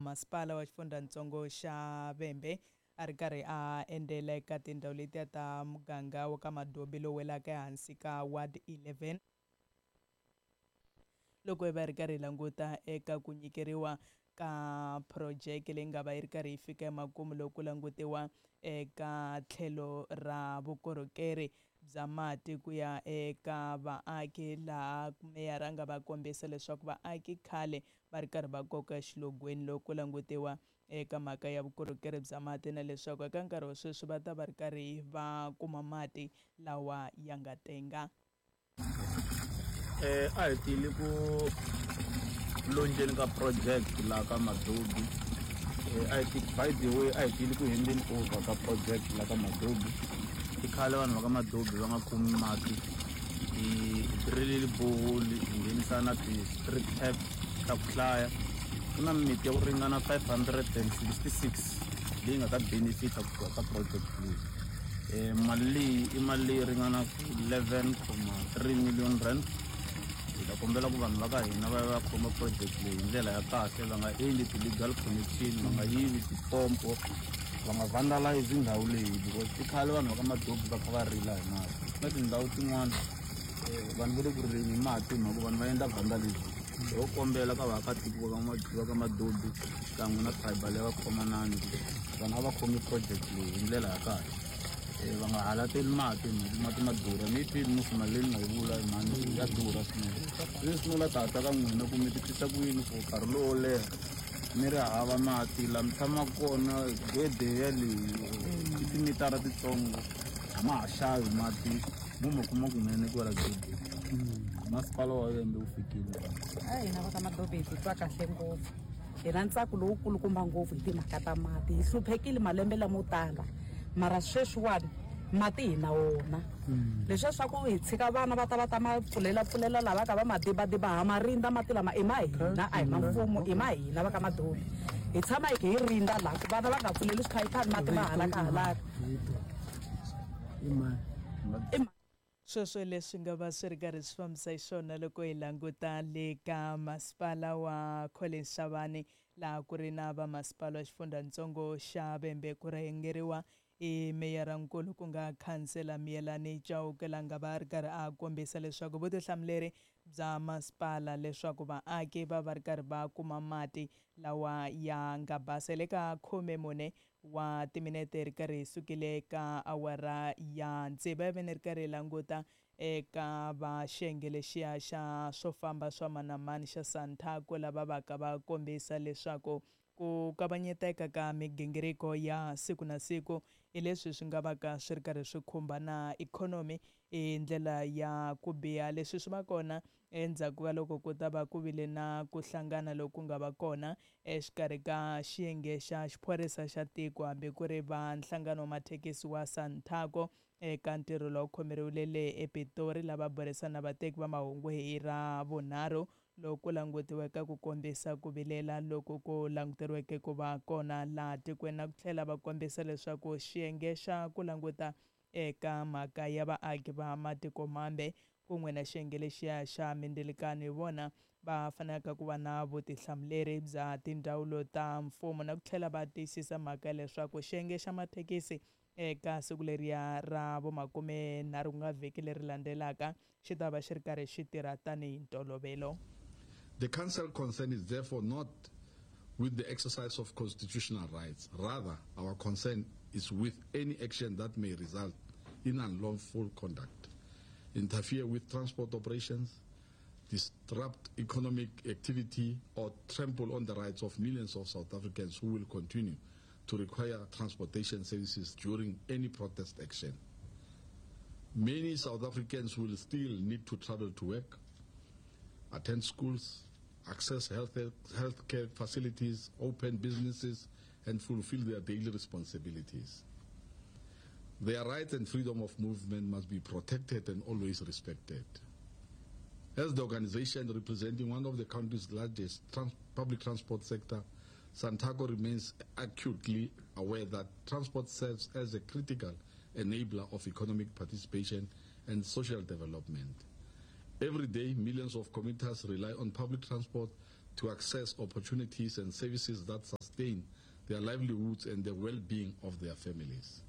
Masipala wa xifundzhantsongo xa Vhembe a ri karhi a endzela eka tindhawu letiya ta muganga wa ka Madobi lowu welaka ehansi ka Ward 11 loko hi va hi ri karhi hi languta eka ku nyikeriwa ka phurojeke leyi nga va yi ri karhi yi fika emakumu loko ku langutiwa eka tlhelo ra vukorhokeri bya mati ku ya eka vaaki laha meyara a nga va kombisa leswaku vaaki khale va ri karhi va koka exilogweni loko ku langutiwa eka mhaka ya vukorhokeri bya mati na leswaku eka nkarhi wa sweswi va ta va ri karhi va kuma mati lawa ya nga tenga. A hi tile ku lonjeni ka project laha ka Madobi. A hi ti by the way a hi tile ku handeni over ka project laha ka Madobi. I khale vanhu va ka Madobi va nga kumi mati. Hi drill-ile borehole hi nghenisa na ti-street tap ta ku hlaya. Ku na mimiti ya ku ringana 566 leyi nga ta benefit-a kusuka ka project leyi. Mali leyi i mali leyi ringanaka 11.3 million rand. Hi ta kombela ku vanhu va ka hina va ya va ya khoma project leyi hi ndlela ya kahle, va nga endli ti-legal connection, va nga yivi tipompo, va nga vandalize ndhawu leyi because i khale vanhu va ka Madobi va kha va rila hi mati. Na tindhawu tin'wana vanhu va le ku rileni hi mati hi mhaka ku vanhu va endla vandalism. Ho kombela ka vaakatiko va ka Madobi xikan'we na tribal ya va Khomanani ku vanhu a va khomi project leyi hi ndlela ya kahle. Va nga halateli mati hi mhaka mati ma durha. Mi yi twile musi mali leyi ni nga yi vula mhani ya durha swinene. Sweswi no la tata ka n'wina ku mi titwisa ku yini for nkarhi lowo leha mi ri hava mati laha mi tshamaka kona gede yaleyi i timitara titsongo a ma ha xavi mati mo ma kuma kunene kwala gedeni. Masipala wa Vhembe wu fikile. A hina va ka Madobi hi titwa kahle ngopfu. Hi na ntsako lowukulukumba ngopfu hi timhaka ta mati. Hi hluphekile malembe lamo tala mara sweswiwani mati hi na wona. Leswiya swa ku hi tshika vana va ta va ta ma pfulela pfulela lava ka va ma dibadiba ha ma rindza mati lama i ma hina a hi ma mfumo i ma hina va ka Madobi. Hi tshama hi kha hi rindza laha ku vana va nga pfuleli swiphayipani mati ma halaka halaka. I Sweswo leswi nga va swi ri karhi swi fambisa xiswona loko hi languta le ka masipala wa Collins Chabane laha ku ri na vamasipala wa xifundzhantsongo xa Vhembe ku rhangeriwa hi meyara-nkulu ku nga khansela Miyelani Chauke la nga va a ri karhi a kombisa leswaku vutihlamuleri bya masipala leswaku vaaki va va ri karhi va kuma mati lawa ya nga basa. Hi le ka 14 wa timinete ri karhi hi sukile eka awara ya tsevu ivi ni ri karhi hi languta eka va xiyenge lexiya xa swo famba swa mani na mani xa Santaco lava vaka va kombisa leswaku ku kavanyeteka ka migingiriko ya siku na siku hi leswi swi nga vaka swi ri karhi swi khumba na ikhonomi hi ndlela ya ku biha. Leswi swi va kona endzhaku ka loko ku ta va ku vile na ku hlangana loku nga va kona exikarhi ka xiyenge xa xiphorisa xa tiko hambi ku ri va nhlangano wa mathekisi wa Santaco eka ntirho lowu khomeriwile le ePitori lava burisana na vateki va mahungu hi ra vunharhu loku ku langutiweke ku kombisa ku vilela loku ku languteriweke ku va kona laha tikweni na ku tlhela va kombisa leswaku xiyenge xa ku languta eka mhaka ya vaaki va matiko mambe kun'we na xiyenge lexiya xa mindzilikano hi vona va fanelaka ku va na vutihlamuleri bya tindzawulo ta mfumo na ku tlhela va tiyisisa mhaka ya leswaku xiyenge xa mathekisi eka siku leriya ra vomakumenharhu ku nga vhiki leri landzelaka xi ta va xi ri karhi xi tirha tanihi ntolovelo. The council concern is therefore not with the exercise of constitutional rights. Rather, our concern is with any action that may result in unlawful conduct, interfere with transport operations, disrupt economic activity, or trample on the rights of millions of South Africans who will continue to require transportation services during any protest action. Many South Africans will still need to travel to work, attend schools, access healthcare facilities, open businesses, and fulfill their daily responsibilities. Their rights and freedom of movement must be protected and always respected. As the organization representing one of the country's largest public transport sector, Santaco remains acutely aware that transport serves as a critical enabler of economic participation and social development. Every day, millions of commuters rely on public transport to access opportunities and services that sustain their livelihoods and the well-being of their families.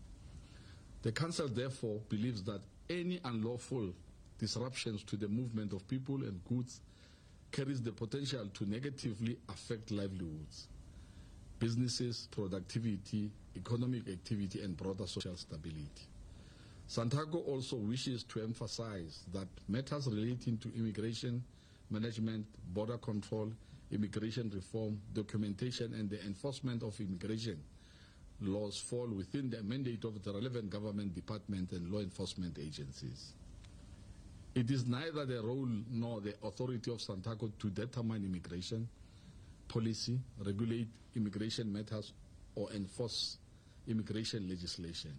The Council therefore believes that any unlawful disruptions to the movement of people and goods carries the potential to negatively affect livelihoods, businesses, productivity, economic activity, and broader social stability. Santaco also wishes to emphasize that matters relating to immigration management, border control, immigration reform, documentation, and the enforcement of immigration laws fall within the mandate of the relevant government department and law enforcement agencies. It is neither the role nor the authority of Santaco to determine immigration policy, regulate immigration matters, or enforce immigration legislation.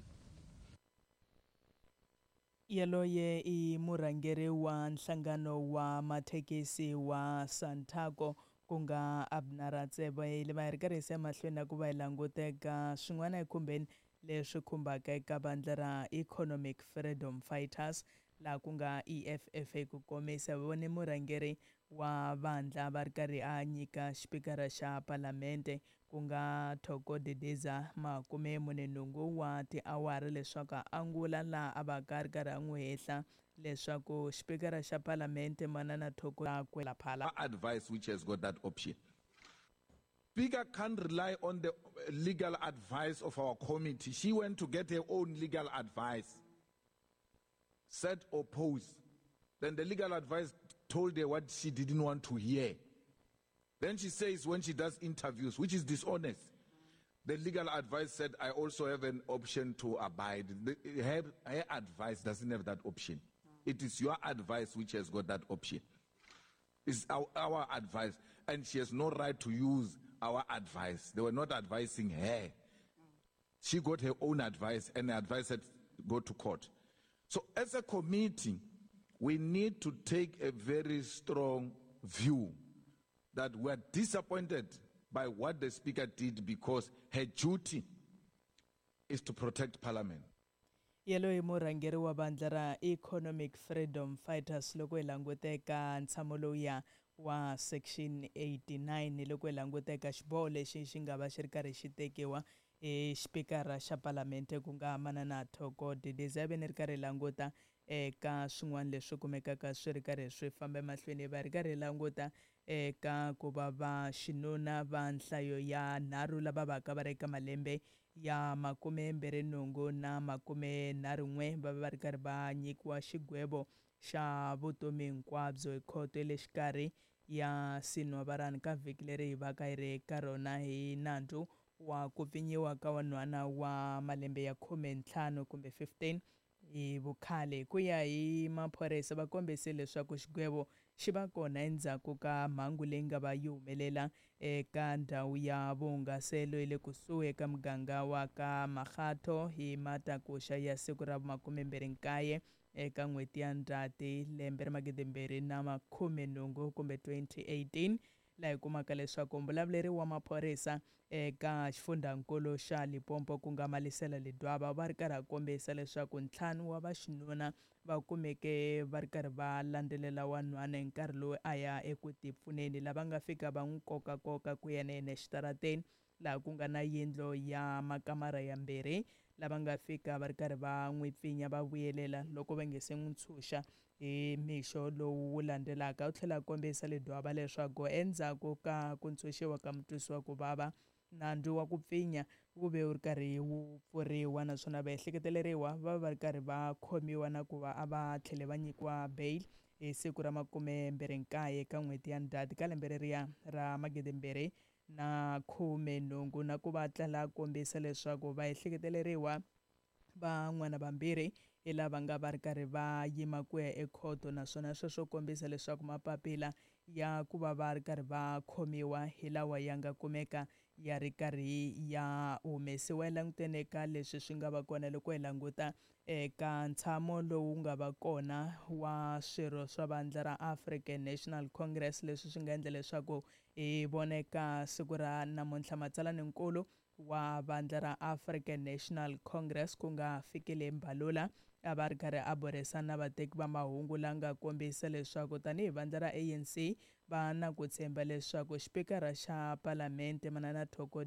Yaloye i murhangeri wa nhlangano wa mathekisi wa Santaco ku nga Abner Ratsebe le va hi ri karhi hi emahlweni na ku va hi languteka swin'wana ekhumbeni leswi khumbaka eka vandla ra Economic Freedom Fighters laha ku nga EFF ku komisa vone murhangeri wa vandla va ri karhi a nyika xipikara xa palamente ku nga Thoko Didiza 48 wa tiawara leswaku a angula laha a va ka ri karhi a n'wi hehla leswaku xipikara xa palamente manana Thoko kwela phala advice which has got that option. Speaker can't rely on the legal advice of our committee. She went to get her own legal advice. Said oppose. Then the legal advice told her what she didn't want to hear. Then she says when she does interviews, which is dishonest, the legal advice said, I also have an option to abide. Her advice doesn't have that option. It is your advice which has got that option. It's our advice. And she has no right to use our advice. They were not advising her. She got her own advice, and the advice said, go to court. So as a committee, we need to take a very strong view that we are disappointed by what the Speaker did, because her duty is to protect Parliament. Yaloye murhangeri wa vandla ra Economic Freedom Fighters loko hi languteka ntshamo lowuya wa section 89 loko hi languteka xiboho lexi xi nga va xi ri karhi xi tekiwa hi xipikara xa palamente ku nga manana Thoko Didiza ve ni ri karhi languta eka swin'wana leswi kumekaka swi ri karhi swi famba emahlweni va ri karhi languta eka ku va va xinuna va nhlayo ya 3 lava vaka va ri eka malembe ya 28 na 31 va va ri karhi va nyikiwa xigwevo xa vutomi hinkwabyo hi khoto ya le xikarhi ya Sinwavarani ka vhiki leri hi vaka hi ri ka rona hi nandzu wa ku pfinyiwa ka wanhwana wa malembe ya 15 kumbe 15 hi vukhale. Ku ya hi maphorisa va kombise leswaku xigwevo xi va kona endzhaku ka mhangu leyi nga va yi humelela eka ndhawu ya vuhungaselo ya le kusuhi eka muganga wa ka Makgatho hi matakuxa ya siku ra 29 eka n'hweti ya Ndzhati lembe ra 2018 kumbe 2018 laha hi kumaka leswaku mbulavuleri wa maphorisa eka xifundzankulu xa Limpopo ku nga Malisela Ledwaba va ri karhi a kombisa leswaku 5 wa vaxinuna va kumeke va ri karhi va landzelela wanhwana hi nkarhi lowu a ya eku tipfuneni lava nga fika va n'wi kokakoka ku ya na yena exitarateni laha ku nga na yindlu ya makamara ya 2 lava nga fika va ri karhi va n'wi pfinya va vuyelela loko va nge se n'wi ntshunxa hi mixo lowu wu landzelaka. U tlhela a kombisa Ledwaba leswaku endzhaku ka ku ntshunxiwa ka mutwisiwa ku vava nandzu wa ku pfinya wu ve wu ri karhi wu pfuriwa naswona vaehleketeleriwa va va ri karhi va khomiwa na ku va a va tlhele va nyikiwa bail hi siku ra 29 ka n'hweti ya Ndzhati ka lembe leriya ra 2018 na ku va tlela kombisa leswaku vaehleketeleriwa van'wana vambirhi hi lava nga va ri karhi va yima ku ya ekhoto naswona sweswo kombisa leswaku mapapila ya ku va va ri karhi va khomiwa hi lawa ya nga kumeka ya ri karhi ya humesiwa. Hi langutene ka leswi swi nga va kona loko hi languta eka ntshamo lowu nga va kona wa swirho swa vandla ra African National Congress leswi swi nga endla leswaku hi voneka siku ra namuntlha matsalaninkulu wa vandla ra African National Congress ku nga Fikile Mbalula A va ri karhi a burisana na vateki va mahungu la nga kombisa leswaku tanihi vandla ra ANC va na ku tshemba leswaku xipikara xa palamende Manana Thoko.